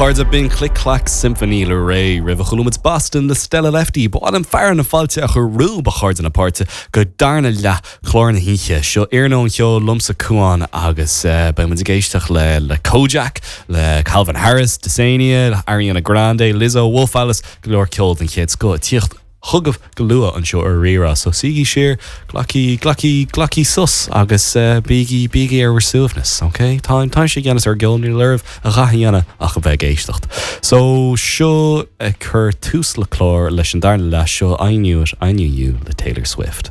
chairde, b'in Click Clack Symphony le Raye. Roimhe chuala muid Boston le Stella Lefty. Ba mhaith liom fearadh na fáilte a chur romhaibh, a chairde na páirte, go darna leath chlár na hoíche. Seo Iarnóin Cheoil liomsa Cuán agus beidh muid ag éisteacht le le Kojaque, le Calvin Harris, Dysania, Ariana Grande, Lizzo, Wolf Alice, go leor ceoil den chéad scoth ag tíocht chugaibh go luath anseo ar Rí-Rá. So suígí siar, glacaigí, glacaigí, glacaigí sos agus bígí, bígí ar bhur suaimhneas, ok? Táim, táimse i gceannas ar an gceol, níl oraibh a dhath a dhéanamh ach a bheith ag éisteacht. So seo ag cur tús le clár leis an darna leath seo I Knew It, I Knew You le Taylor Swift.